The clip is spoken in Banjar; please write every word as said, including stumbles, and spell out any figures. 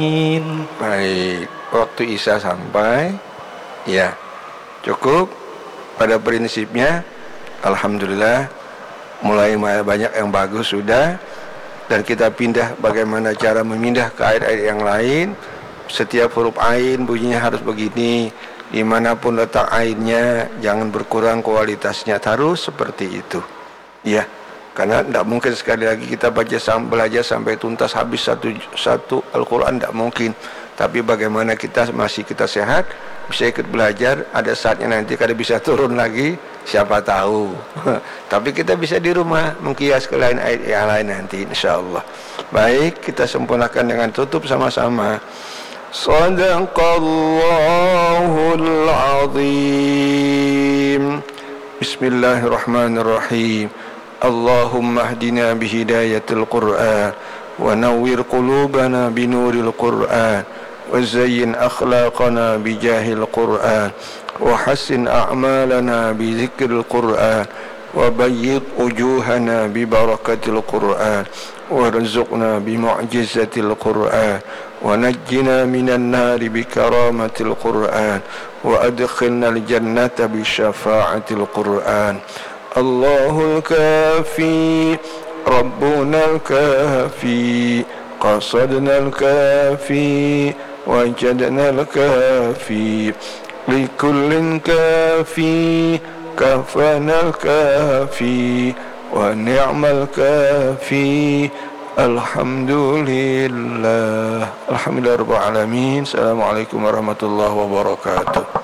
Amin. Baik, waktu Isya sampai. Ya, cukup. Pada prinsipnya, alhamdulillah, mulai ma-, banyak yang bagus sudah. Dan kita pindah, bagaimana cara memindah ke ayat-ayat yang lain. Setiap huruf ain bunyinya harus begini. Dimanapun letak ainnya, jangan berkurang kualitasnya, harus seperti itu. Ya, karena ndak mungkin sekali lagi kita baca sam-, belajar sampai tuntas habis satu, satu Al-Quran, ndak mungkin. Tapi bagaimana kita masih kita sehat, bisa ikut belajar, ada saatnya nanti kada bisa turun lagi, siapa tahu. Tapi kita bisa di rumah mengkias ke lain ayat yang lain nanti, insya Allah. Baik, kita sempurnakan dengan tutup sama-sama. Sadaqallahul azim. Bismillahirrahmanirrahim. Allahumma ahdina bihidayatil Qur'an, wa nawwir qulubana binuril Qur'an, wa zayyin akhlaqana bijahil Qur'an, wa hassin a'malana bizikril Qur'an, wa bayyid wujuhana bibarakatil Qur'an, warzuqna bimu'jizatil Qur'an, wa najjina minan nari bikaramatil Qur'an, wa adkhilnal jannata bisyafaatil Qur'an. Allahul kafi, Rabbunal kafi, qasadnal kafi, wajadnal kafi, likullin kafi, kafanal kafi, wa ni'mal kafi. Alhamdulillah. Alhamdulillah Rabbil Alamin. Assalamualaikum warahmatullahi wabarakatuh.